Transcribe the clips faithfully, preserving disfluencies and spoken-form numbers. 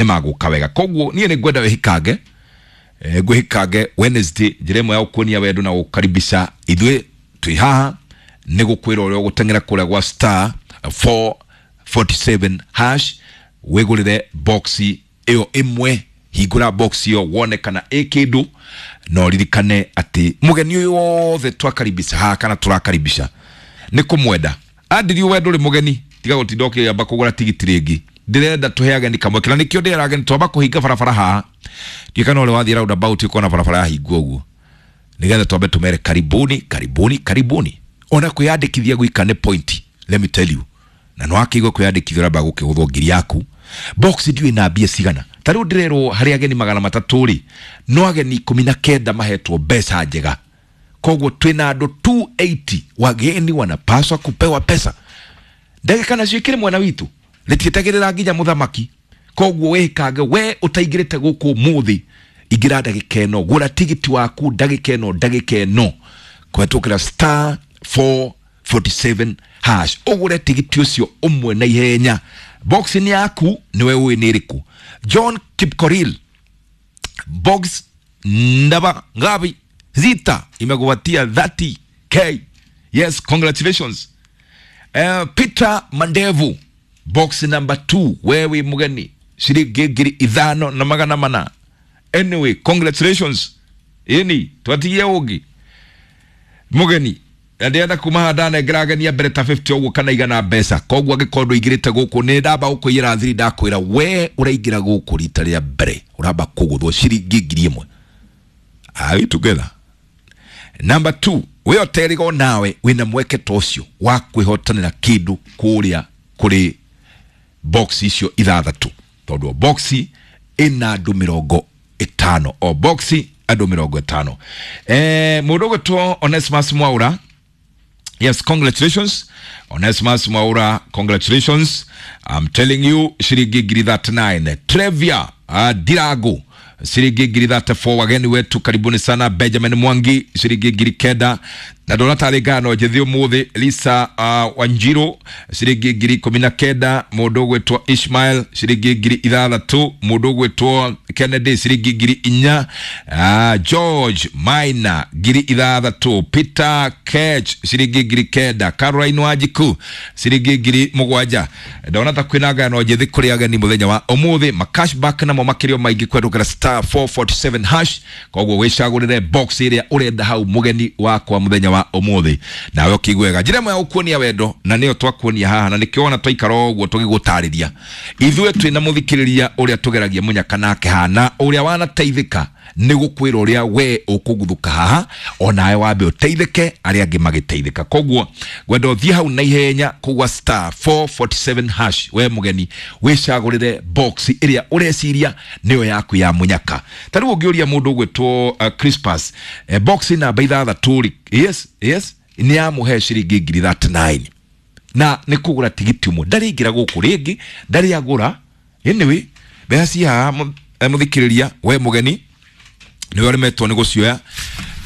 Nĩ magũka wega. Koguo niĩ nĩ ngwenda wĩhikange, eh, ngwĩhikange Wednesday. Njĩra ĩmwe ya gũkuonia wendo na gũkaribisha ithuĩ twĩ haha nĩ gũkwĩra ũrĩa ũgũteng'era kũrĩa gwa star four forty-seven hash, wĩgũrĩre boxi ĩyo ĩmwe. Hingũra box ĩyo wone kana ĩ kĩndũ, na ũririkane atĩ mũgeni ũyũ wothe twakaribisha haha kana tũrakaribisha nĩ kũmwenda andirio wendo. Ũrĩ mũgeni, tiga gũtinda ũkĩamba kũgũra tigiti rĩngĩ. Ndĩrenda tũhe ageni kamweke, na nĩkĩo ndĩrera ageni twamba kũhinga barabara haha. Ndiũĩ kana ũrĩa wathiĩ roundabout ũkona barabara yahingwo ũguo, nĩgetha twambe tũmere karibuni, karibuni, karibuni. Ona kwĩyandĩkithia gwika nĩ point, let me tell you. Na no akĩigua kwĩyandĩkithia ũramba gũkĩgũthwo ngiri yaku. Box ndiũĩ na mbia cigana. Ta rĩu ndĩrerwo harĩ ageni magana matatũ rĩ, no ageni ikũmi na kenda mahetwo mbeca njega. Koguo twĩna andũ two eighty. Wageni wanapaswa kupewa pesa. Ndagĩka nacio ikĩrĩ mwena witũ, rĩtietagĩrĩra nginya mũthamaki. Koguo wĩkange, we ũtaingĩrĩte gũkũ ũmũthĩ, ingĩra ndagĩka ĩno, gũra tigiti waku ndagĩka ĩno, ndagĩka ĩno, kũhetũkĩra star four forty-seven hash, ũgũre tigiti ũcio ũmwe na ihenya. Box nĩ yaku, nĩwe ũĩ nĩ ĩrĩkũ. John Kipkoril, box namba ngapi? Zita imekupatia thirty k. Yes, congratulations. uh, Peter Mandevu, box number two, wewe mugeni, ciringi ngiri ithano na magana mana. Anyway, congratulations. Ini twatigie ũngĩ mugeni, na ndĩrenda kuma haha ndanengera ageni mbere ta fifty ũguo kana igana mbeca. Koguo angĩkorwo ndũingĩrĩte gũkũ, nĩ ndamba gũkũiyĩra thiri. Ndakwĩra we ũraingĩra gũkũ rita rĩa mbere, ũramba kũgũthwo ciringi ngiri ĩmwe. Are we together? Number two, we ũterigo nawe wĩna mweke ta ũcio wa kwĩhotanĩra kĩndũ kũrĩa kũrĩ box icio ithathatũ, tondũ o box ĩna andũ mĩrongo ĩtano, o box andũ mĩrongo ĩtano. eh, mũndũ ũgwĩtwo Onesmus Mwaura, yes, congratulations. Onesmus Mwaura, congratulations. I'm telling you, ciringi ngiri thirty-nine. Trevia uh, Dirago, ciringi ngiri thirty-four. Wageni wetu, karibuni sana. Benjamin Mwangi, ciringi ngiri kenda. Na ndona tarĩ ngano njĩthĩ ũmũthĩ. Lisa uh, Wanjiru, ciringi ngiri ikũmi na kenda. Mũndũ ũgwĩtwo Ishmael, ciringi ngiri ithathatũ. Mũndũ ũgwĩtwo Kennedy, ciringi ngiri inya. uh, George Maina, ngiri ithathatũ. Peter Kech, ciringi ngiri kenda. Caroline Wanjiku, ciringi ngiri mũgwanja. Ndona ta kwĩna ngano njĩthĩ kũrĩ ageni mũthenya wa ũmũthĩ. Ma cashback namo makĩrio maingĩ kũhetũkĩra star four forty-seven hash. Koguo wĩcagũrĩre box ĩrĩa ũrenda hau, mũgeni wakwa, mũthenya wa ũmũthĩ, nawe ũkĩiguega njĩra ĩmwe ya gũkuonia wendo, na nĩyo twakuonia haha, na nĩkĩo wona twaikara ũguo tũgĩgũtarĩria. Ithuĩ twĩna mũthikĩrĩria ũrĩa tũgeragia mũnyaka nake haha, na ũrĩa wanateithĩka nĩ gũkwĩra ũrĩa we ũkũguthũka haha onawe wambe ũteithĩke arĩa angĩ magĩteithĩka. Koguo ngwenda ũthiĩ hau na ihenya kũgwa star four forty-seven hash, we mũgeni, wĩcagũrĩre box ĩrĩa ũreciria nĩyo yaku ya mũnyaka. Ta rĩu ũngĩũria mũndũ ũgwĩtwo uh, Crispus, eh, box namba ithathatũ rĩ, yes yes nĩ yamũhe ciringi ngiri thirty-nine, na nĩ kũgũra tigiti ũmwe. Ndarĩingĩra gũkũ rĩngĩ, ndarĩ agũra. Anyway, mbeca ci haha, mũthikĩrĩria. We mũgeni nĩwe ũremetwo nĩ gũcioya.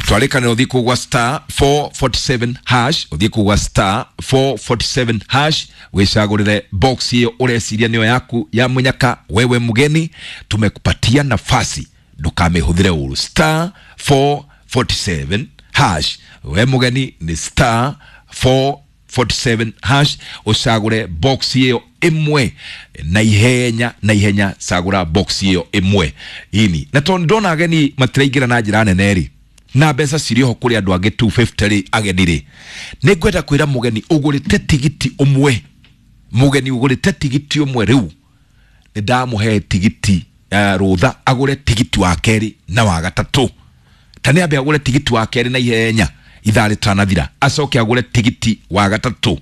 Twarĩkanĩra ũthiĩ kũgwa star four forty-seven hash, ũthiĩ kũgwa star four forty-seven hash, wĩcagũrĩre box ĩyo ũreciria nĩyo yaku ya mũnyaka. Wewe mgeni, tumekupatia nafasi, ndũkamĩhũthĩre ũru. Star four forty-seven hash, we mũgeni, nĩ star four forty-seven hash, ũcagũre box ĩyo ĩmwe na ihenya, na ihenya. Cagũra box ĩyo ĩmwe ini. Na tondũ ndona ageni matiraingĩra na njĩra nene rĩ, na mbeca cirĩ oho kũrĩ andũ angĩ two fifty rĩ, ageni rĩ, nĩ ngwenda kwĩra mũgeni ũgũrĩte tigiti ũmwe, mũgeni ũgũrĩte tigiti ũmwe rĩu nĩ ndamũhe tigiti uh, rũtha agũre tigiti wa kerĩ na wa gatatũ. Ta nĩ ambe agũre tigiti wa kerĩ na ihenya ithaa rĩtanathira, acoke agũre tigiti wa gatatũ.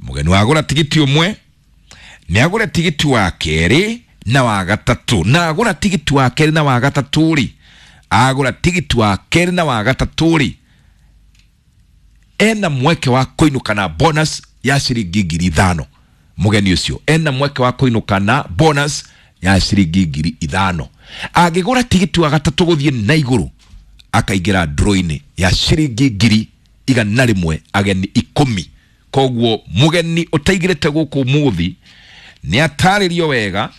Mũgeni wagũra tigiti ũmwe nĩ agũre tigiti wa kerĩ na wa gatatũ. Na agũra tigiti wa kerĩ na wa gatatũ rĩ, agũra tigiti wa kerĩ na wa gatatũ rĩ, ena mweke wa kũinũka na bonus ya ciringi ngiri ithano. Mũgeni ũcio ena mweke wa kũinũka na bonus ya ciringi ngiri ithano. Angĩgũra tigiti wa gatatũ gũthiĩ na igũrũ, akaingĩra draw-inĩ ya ciringi ngiri igana rĩmwe, ageni ikũmi. Koguo mũgeni ũtaingĩrĩte gũkũ ũmũthĩ nĩ atarĩrio wega.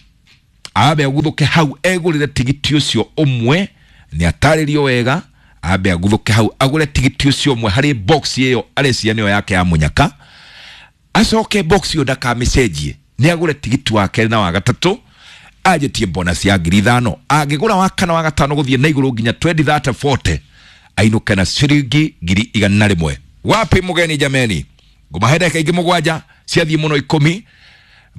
Ambe aguthuke hau egurire tigiti ucio umwe, ni atarĩrio wega, ambe aguthuke hau agure tigiti ucio umwe harĩ box ĩyo areciria nĩyo yake ya mũnyaka. Acoke box ĩyo ndakamĩcenjie, nĩ agure tigiti wa kerĩ na wa gatatũ, anjĩtie bonus ya ngiri ithano. Angĩgũra wa kana wa gatano gũthiĩ na igũrũ nginya twenty thirty forty, ainũke na ciringi ngiri igana rĩmwe. Wapi mũgeni jameni? Ngũmahe ndagĩka ingĩ mũgwanja ciathiĩ mũno ikũmi,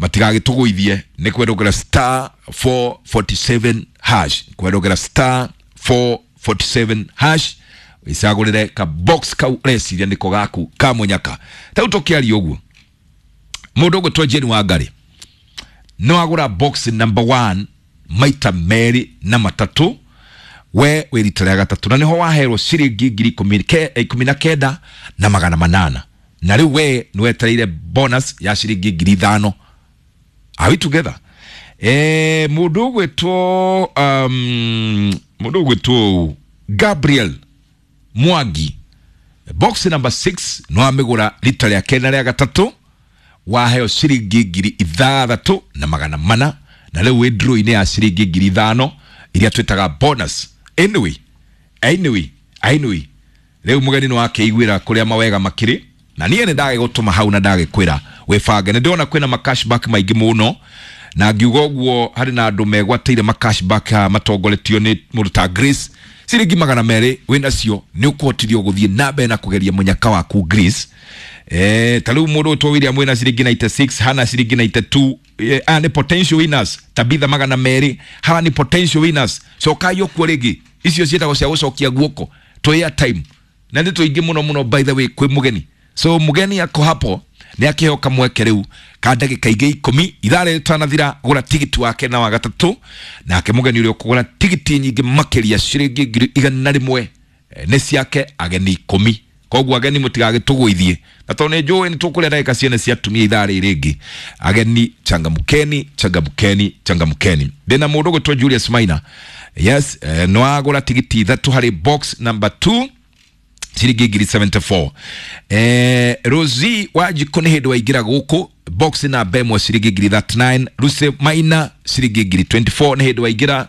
matigagĩtũgũithie. Nĩ kwendũngĩra star four forty seven hash, kwendũngĩra star four forty seven hash, wĩcagũrĩre ka box kau ũreciria nĩko gaku ka mũnyaka. Ta rĩu tũkĩaria ũguo, mũndũ ũgwĩtwo Jane Wangari no agũra box number one maita merĩ na matatũ, we wĩ rita rĩa gatatũ, na nĩho waherwo ciringi ngiri ikũmi ke-, ikũmi na kenda na magana manana, na rĩu we nĩ wetereire bonus ya ciringi ngiri ithano. Are we together? Eh, mũndũ ũgwĩtwo, um, mũndũ ũgwĩtwo Gabriel Mwangi, box number six no amĩgũra rita rĩa kerĩ na rĩa gatatũ, waheo ciringi ngiri ithathatũ na magana mana, na rĩu wĩ draw-inĩ ya ciringi ngiri ithano iria twĩtaga bonus. Anyway, anyway, anyway, rĩu mũgeni nĩ wakĩiguĩra kũrĩa mawega makĩrĩ, na niĩ nĩ ndagĩgũtũma hau na ndagĩkwĩra wĩbange. Nĩ ndĩrona kwĩna ma cashback maingĩ mũno, na ngiuga ũguo harĩ na andũ megwatĩire ma cashback haha matongoretio nĩ mũndũ ta Grace. Ciringi magana merĩ wĩnacio nĩ ũkũhotithio gũthiĩ na mbere na kũgeria mũnyaka waku Grace. Eh, ta rĩu mũndũ ũtwo William wĩna ciringi ninety six, Hana ciringi ninety two, eh, aya nĩ potential winners, Tabitha magana merĩ, hawa nĩ potential winners. Cokai ũkuo rĩngĩ, icio ciĩtagwo cia gũcokia guoko, twĩ airtime. Na nĩ tũingĩ mũno mũno by the way kwĩ mũgeni. So mũgeni ako hapo nĩ akĩheo kamweke rĩu ka ndagĩka ingĩ ikũmi, ithaa rĩrĩ rĩtanathira, gũra tigiti wake na wa gatatũ, nake mũgeni ũrĩa ũkũgũra tigiti nyingĩ makĩria ciringi ngiri igana rĩmwe, eh, nĩ ciake ageni ikũmi. Koguo ageni mũtigagĩtũgũithie, na tondũ nĩ njũĩ nĩ tũkũrĩa ndagĩka ciene cia atumia ithaa rĩrĩ rĩngĩ. Ageni changamkeni, changamkeni, changamkeni. Ndĩna mũndũ ũgwĩtwo Julius Maina. Yes, eh, no agũra tigiti ithatũ harĩ box number two, ciringi ngiri seventy four. Eh, Rosie Wanjikũ nĩ hĩndĩ waingĩra gũkũ, box namba ĩmwe ciringi ngiri thirty nine, Lucy Maina ciringi ngiri twenty four nĩ hĩndĩ waingĩra.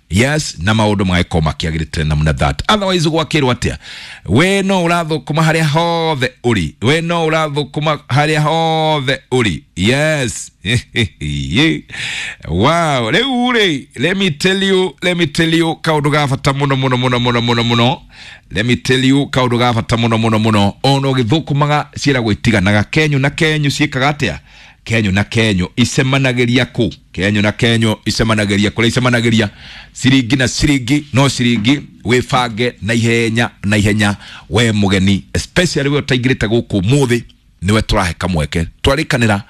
Yes, na maũndũ magĩkorwo makĩagĩrĩte namna that. Otherwise gwakĩrwo atĩa? We no ũrathũkũma harĩa hothe ũrĩ, we no ũrathũkũma harĩa hothe ũrĩ. Yes. Wow, rĩu rĩ, let me tell you, let me tell you kaũndũ ga bata mũno mũno mũno mũno mũno mũno. Let me tell you kaũndũ ga bata mũno mũno mũno. Ona ũgĩthũkũmaga ciĩragwo itiganaga, kenyu na kenyu ciĩkaga atĩa? Kenyu na kenyu icemanagĩria kũ? Kenyu na kenyu icemanagĩria kũrĩa icemanagĩria ciringi na ciringi, no ciringi wĩbange na ihenya na ihenya we mũgeni, especially we ũtaingĩrĩte gũkũ ũmũthĩ, nĩwe tũrahe kamweke. Twarĩkanĩra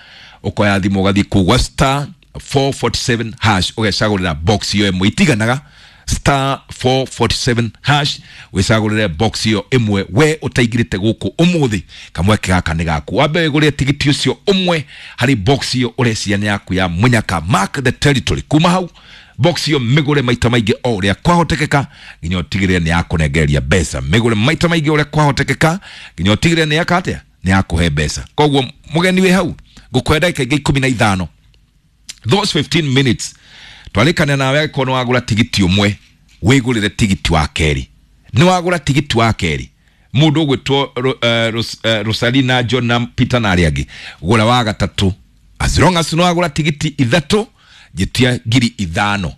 ũkoya thimũ ũgathiĩ kũu gwa star four forty seven hash ũgecagũrĩra box ĩyo ĩmwe itiganaga, star four forty seven hash wĩcagũrĩre box ĩyo ĩmwe we ũtaingĩrĩte gũkũ ũmũthĩ, kamweke gaka nĩ gaku. Wambe wĩgũrĩre tigiti ũcio ũmwe harĩ box ĩyo ũreciria nĩ yaku ya mũnyaka. Mark the territory. Kuma hau box ĩyo mĩgũre maita maingĩ o ũrĩa kwahotekeka nginya ũtigĩrĩre nĩ yakũnengereria mbeca. Mĩgũre maita maingĩ ũrĩa kwahotekeka nginya ũtigĩrĩre nĩ yaka atĩa? Nĩ yakũhe mbeca. Koguo mũgeni wĩ hau ngũkũhe ndagĩka ingĩ ikũmi na ithano, those fifteen minutes twarĩkane nawe angĩkorwo nĩ wagũra tigiti ũmwe wĩgũrĩre tigiti wa kerĩ. Nĩ wagũra tigiti wa kerĩ, mũndũ ũgwĩtwo Ro-, eh, Ros-, eh, Rosalina John na Peter na arĩa angĩ, gũra wa gatatũ. As long as nĩ wagũra tigiti ithatũ, njĩtia ngiri ithano.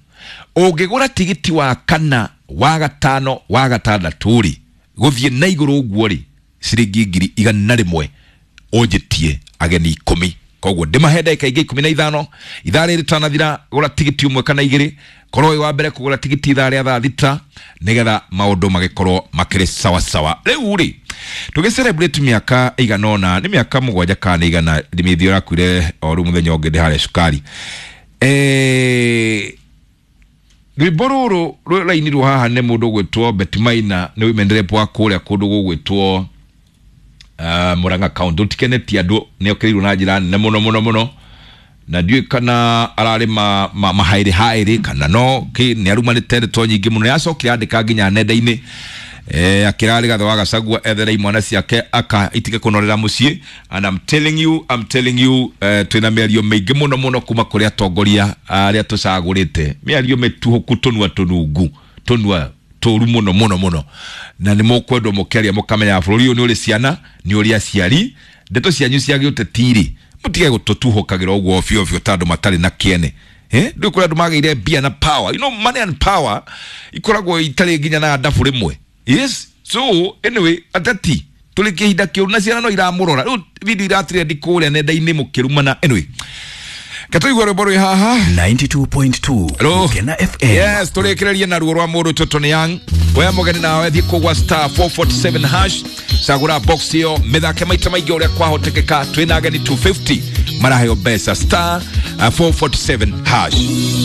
Ũngĩgũra tigiti wa kana, wa gatano, wa gatandatũ rĩ, gũthiĩ na igũrũ ũguo rĩ, ciringi ngiri igana rĩmwe ũnjĩtie ageni ikũmi. Koguo ndĩmahe ndagĩka ingĩ ikũmi na ithano, ithaa rĩrĩ rĩtanathira, gũra tigiti ũmwe kana igĩrĩ, korwo wĩ wa mbere kũgũra tigiti ithaa rĩa thaa thita, nĩgetha maũndũ magĩkorwo makĩrĩ sawa sawa. Rĩu rĩ, tũgĩ celebrate mĩaka ĩigana ũna, nĩ mĩaka mũgwanja kana nĩ igana, Ndĩmĩthĩ ũrakuire o rĩu mũthenya ũngĩ ndĩ harĩa cukari. Eh, rwĩmbo rũrũ rũrainirwo haha nĩ mũndũ ũgwĩtwo Betty Maina, nĩ women rep wa kũrĩa kũndũ gũgwĩtwo, uh, Murang'a County. Ũtikenetie andũ, nĩ okĩrĩirwo na njĩra nene mũno mũno mũno, na ndiũĩ kana ararĩ ma, ma, mahaĩrĩ haĩrĩ kana no kĩ, nĩ arumanĩte ndeto nyingĩ mũno. Nĩ acokire andĩka nginya nenda-inĩ. Eh, akĩra Rigathĩ wa Gachagua ethere imwana ciake aka itige kũnorera mũciĩ. And I'm telling you, I'm telling you, eh, twĩna mĩario mĩingĩ mũno mũno kuma kũrĩ atongoria arĩa tũcagũrĩte, mĩario mĩtuhũku, tũnua tũnungu, tũnua tũru mũno mũno mũno, na nĩ mũkwendwo mũkĩaria mũkamenya bũrũri ũyũ nĩ ũrĩ ciana, nĩ ũrĩ aciari. Ndeto cianyu cia gĩũteti-rĩ, mũtige gũtũtuhũkagĩra ũguo obio obio ta andũ matarĩ na kĩene. Eh, ndũĩ kũrĩ andũ magĩire mbia na power, you know, money and power ikoragwo itarĩ nginya na ndabu rĩmwe. Yes, so anyway, ateti tũrĩ kĩhinda kĩũru na ciana no iramũrora rĩu, video iratrendi kũrĩa nenda-inĩ mũkĩrumana. Anyway, katũigua rwĩmbo rwĩ haha. ninety-two point two Hello. Gukena F M. Yes, tũrĩkĩrĩrie na ruo rwa mũndũ tũtũ nĩ Young. We mũgeni nawe thiĩ kũgwa star four four seven hash, cagũra box ĩyo, mĩthake maita maingĩ ũrĩa kwahotekeka. Twĩna ageni two fifty maraheo mbeca, star uh, four four seven hash.